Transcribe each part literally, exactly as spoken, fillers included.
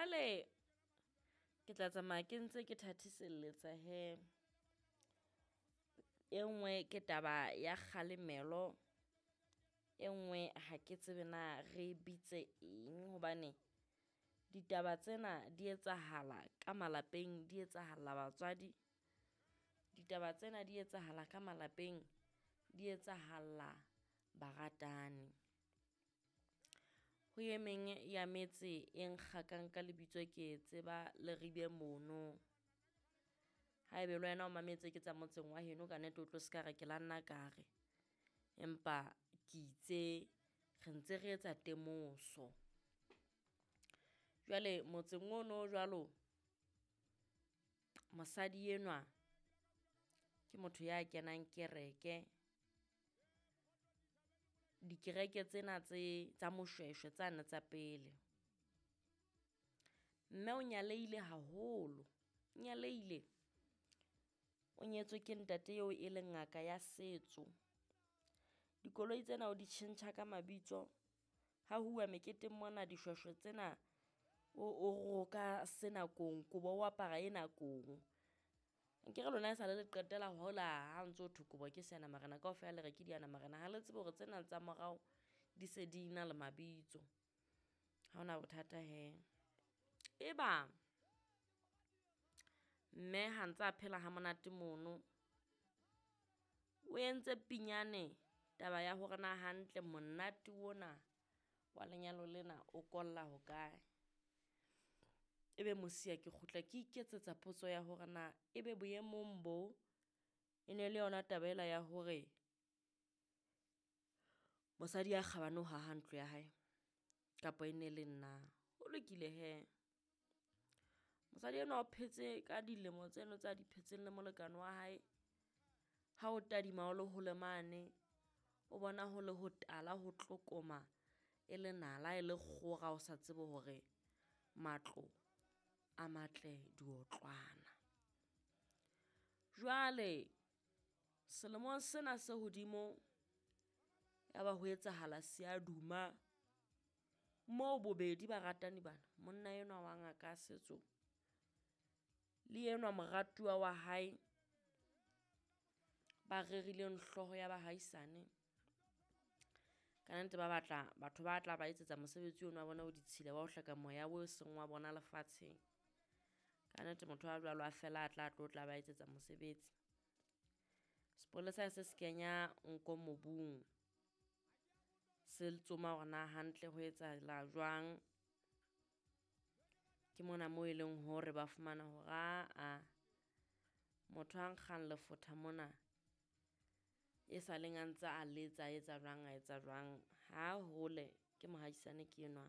Jwale ke tla tsamaya ke ntse ke thathiselletsa hee. E nngwe ke taba ya kgalemelo, e nngwe ha ke tsebe na re e bitse eng hobane ditaba tsena di etsahala ka malapeng, di etsahalla batswadi. Ditaba tsena di etsahala ka malapeng, di etsahalla baratani. Ho e meng ya metse e nkgakang ka lebitso ke e tseba Leribe mono. Haebe le wena o mametse ke tsa motseng wa heno kannete o tlo se ka re ke la nna ka re, empa ke itse re ntse re etsa temoso. Jwale motseng ono o jwalo, mosadi enwa ke motho ya kenang kereke. Dikereke tsena tse tsa Moshweshwe tsane tsa pele. Mme o nyalehile haholo, o nyalehile. O nyetswe ke ntate eo e leng ngaka ya setso. Dikoloi tsena o di tjhentjha ka mabitso. Ha huwa meketeng mona dishweshwe tsena o o roka sena kong, kobo o apara ena kong. Akere lona e sale le qetela hola ha ntso thwe kobo ke seanamarena kaofela le re ke dianamarena. Ha le tsebe hore tsena tsa morao di se di na le mabitso. Ha ho na bothata hee. Eba mme ha ntsa phela ha monate mono, o entse pinyane taba ya hore na hantle monate ona wa lenyalo lena o kolla hokae. Ebe mosiya ke kgutla ke iketsetsa potso ya hore na ebe boemong bo e ne le yona taba ela ya hore mosadi ya kgabane o haha ntlo ya hae kapa e ne le nna? Ho lokile hee. Mosadi enwa o phetse ka dilemo tseno tsa di phetseng le molekane wa hae. Ha o tadima o le hole mane, o bona ho le hotala ho tlokoma e le nala e le kgora, o sa tsebe hore matlo a matle diotlwana. Jwale selemong sena se hodimo ya ba ho etsahala seaduma moo bobedi baratani bana, monna enwa wa ngaka ya setso le enwa moratuwa wa hae ba rerileng hlooho ya bahaisane. Kannete ba batla batho ba tla ba etsetsa mosebetsi ono wa bona o ditshila wa ho hleka moya o seng wa bona lefatsheng. Kannete motho a jwalo a fela a tla tlo tla ba etsetsa mosebetsi. Sepolesa se se kenya nko mobung, se tsoma hore na hantle ho etsahala jwang. Ke mona moo e leng hore ba fumana hore aa motho a nkgang lefotha mona e saleng a ntse a letsa, a etsa jwang, a etsa jwang, ha hole ke mohaisane ke enwa.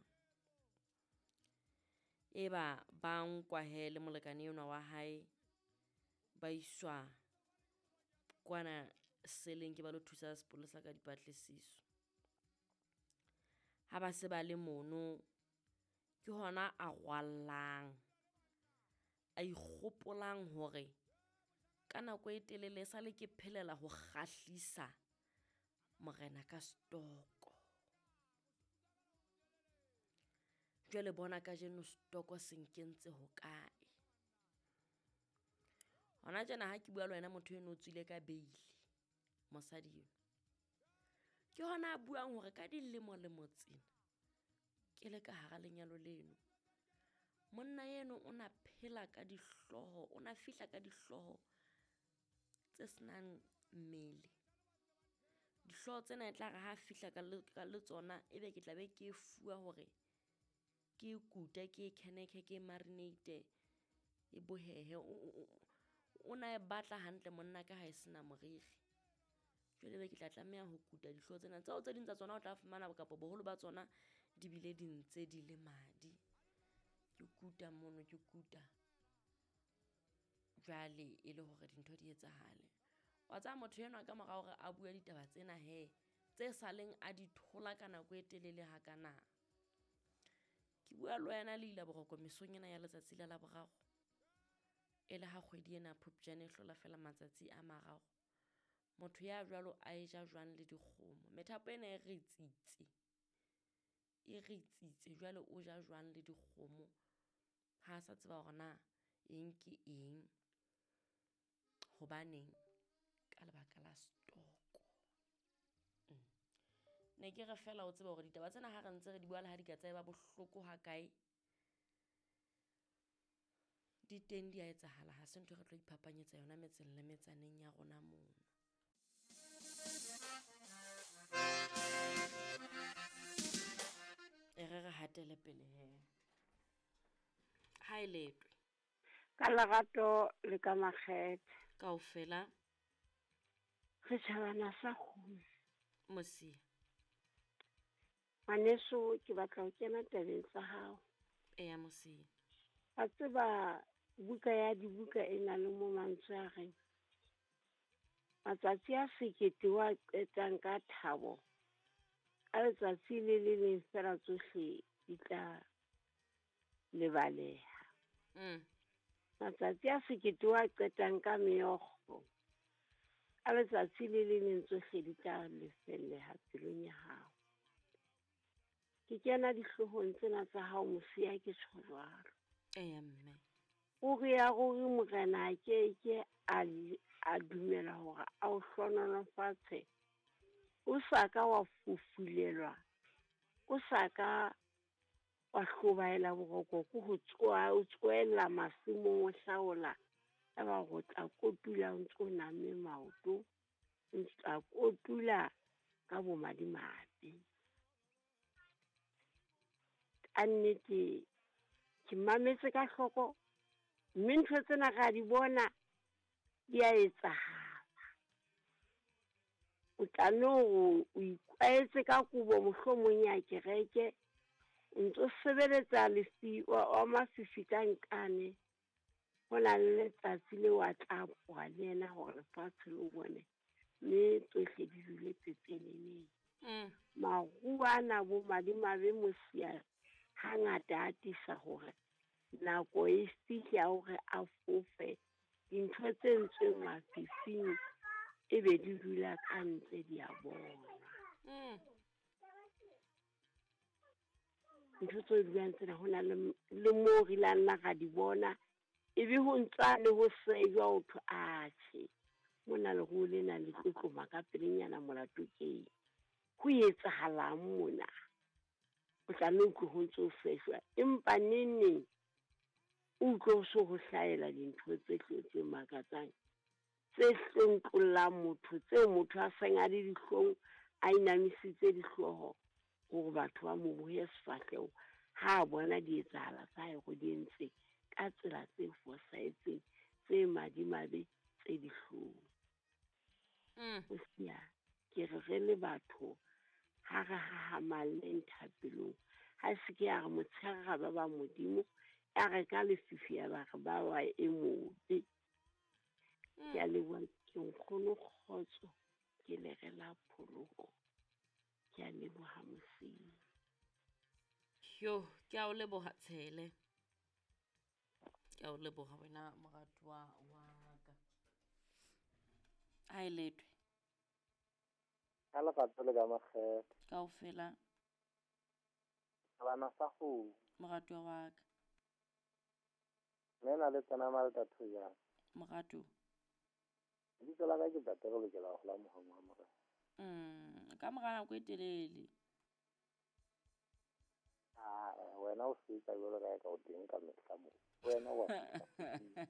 Eba ba nkwa hee le molekane enwa wa hae, ba iswa kwana seleng ke ba lo thusa sepolesa ka dipatlisiso. Ha ba se ba le mono, ke hona a rwallang, a ikgopolang hore ka nako e telele esale ke phelela ho kgahlisa morena ka setoko. Jwale bona kajeno setoko se nkentse hokae. Hona tjena ha ke bua le wena motho eno o tswile ka bail, mosadi enwa. Ke hona a buang hore ka dilemolemo tsena ke le ka hara lenyalo leno, monna eno o na phela ka dihlooho, o na fihla ka dihlooho tse senang mmele. Dihlooho tsena e tla re ha fihla ka le ka le tsona, ebe ke tla be ke e fuwa hore ke e kute, ke e khenekhe, ke e marinate, e bohehe. O na e batla hantle monna ka ha e sena moriri. Jwale ebe ke tla tlameha ho kuta dihlooho tsena tseo tse ding tsa tsona o tla fumana kapa boholo ba tsona di bile di ntse di le madi. Ke kuta mono, ke kuta. Jwale e le hore dintho di etsahale. Wa tseba motho enwa ka mora hore a bue ditaba tsena hee, tse saleng a di thola ka nako e telele hakana. Ke bua le wena le ila boroko mesong ena ya letsatsi la Laboraro. E le ha kgwedi ena ya Phupjane e hlola feela matsatsi a mararo. Motho ya jwalo a e ja jwang le dikgomo. Methapo ena e re tsitse, e re tsitse jwale o ja jwang le dikgomo. Ha a sa tseba hore na eng ke eng, hobaneng ka lebaka la stoko. Mm. Ne ke re fela o tseba hore ditaba tsena ha re ntse re di bua le ha di ka tsa eba bohloko ha kae, di teng di a etsahala. Ha se ntho e re tlo iphapanyetsa yona metseng le metsaneng ya rona mono. E re re hatele pele he. Ha e letwe. Ka lerato le ka makgethe. Kaofela. Re tjhabana sa kgomo. Mosia. Ngwaneso, ke batla ho kena tabeng tsa hao. Eya, Mosia. Wa tseba buka ya dibuka e na le mo mantswe a reng matsatsi a sekete wa qetang ka thabo, ka letsatsi le le leng fela tsohle di tla lebaleha. Mm. Matsatsi a sekete wa qetang ka meokgo, ka letsatsi le le leng tsohle di tla lefelleha pelong ya hao. Ke kena dihloohong tsena tsa hao, Mosia, ke tjho jwalo. Eya, mme. Ruri ya ruri Morena a ke ke a le, a dumela hore a o hlohonolofatse, o sa ka wa fufulelwa, o sa ka wa hlobaela boroko ke ho tsoha, o tsohella masimong o hlaola, eba hore o tla kotula o ntso name maoto, o tla kotula ka bomadimabe. Ka nnete ke mametse ka hloko, mme ntho tsena ra di bona di a etsahala. O tla no o ikwahetse ka kobo mohlomong ya kereke, o ntso sebeletsa lefi wa, wa mafifi ka nkane. Ho na le letsatsi leo a tla apoha le yena hore lefatshe le o bone, mme tsohle di dule pepeneneng. Mm. Maruo ana bo madimabe Mosia hangata a atisa hore nako e fihle ya hore a fofe, dintho tse entsweng mafifing ebe di dula ka ntle di a bonwa. Mm. Ntho tse dulang tsena ho na le m-, le moo re ileng nna ra di bona, ebe ho ntsa le ho sejwa ho thwe, atjhe, mona leruo lena le tlotloma ka pelenyana molato keng? Ho etsahalang mona? O tla nne o utlwe ho ntso ho sejwa, empa neng neng o utlwe ho so ho hlahela dintho tse tlo tse makatsang, tse hlontlollang motho, tseo motho a seng a le dihlong, a inamisitse dihlooho hore batho ba mo bohe sefahleho ha a bona di etsahala tsa hae hore di entse ka tsela tse fosahetseng, tse madimabe, tse dihlong. Mm. Mosia, ke re re le batho ha re hahamalleng thapelong, ha se ke ya re motshehare ra ba ba Modimo, ya re ka lefifi ya ba re ba wa e mobe. Mm. Ke a leboha, ke nkgono kgotso, ke le re la pholoho. Ke a leboha Mosia. Yo, ke a o leboha Tshele. Ke a o leboha wena moratuwa wa ka. Ha e letwe. Ka lerato le ka makgethe. Kaofela. Bana sa kgomo. Moratuwa wa ka. Mme na le tsena Malta Thojana. Moratuwa. Lebitso la ka ke Ntate re lokela ho la mohong wa Morena. Mm, ka mora nako e telele. Ah, wena o feta jwalo ka eka o teng ka mehla moo. Wena wa feta.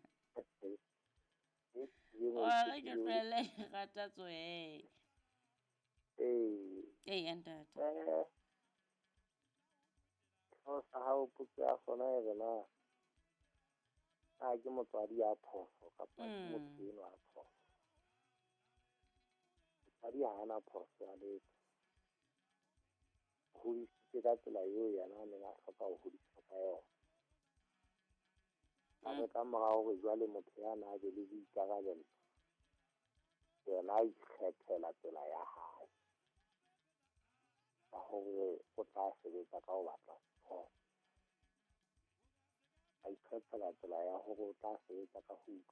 Wa re ke tlohelle rata tsohe. Ee. Ee, ntate. Eh. Sehlooho sa hao potso ya sona e re na, na ke motswadi ya phoso kapa ke Mm. motho enwa a phoso? Motswadi ha ana phoso ya letho. O hodisitse ka tsela eo yena a neng a hloka ho hodiswa ka yona. Hape ka mora hore jwale motho ya na a be le boikarabelo, yena a ikgethela tsela ya hae ka hore o tla sebetsa ka ho batla sekolo. A ikgethela tsela ya hore o tla sebetsa ka ho utlwa